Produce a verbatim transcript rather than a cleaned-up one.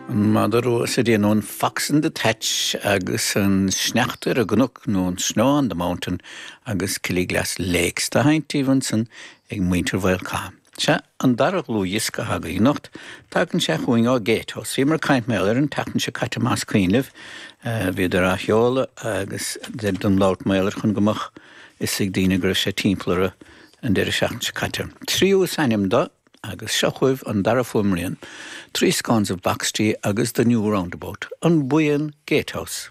An madra rua sa déanamh an Fox in the Thatch agus an sneachta ar an gcnoc nó an Snow on the Mountain agus Killiglass Lakes tá hainttíh san ag muintir Bhfuil. Se an dara dlúthdhiosca againn anocht, tagann sé chugainn ó Gatehouse. Bhí mar caint mé ar an tseachtain seo caite más cuimhin libh, bhíodar á sheoladh agus don labhairt méir chun go mbeadh fhios ag daoine go raibh sé timpeall an deireadh seachtaine seo caite. Tríú is ainm dó agus seo chugaibh an dara fuaimrian, Three Scones of Box Tea agus The New Roundabout, an buíon Gatehouse.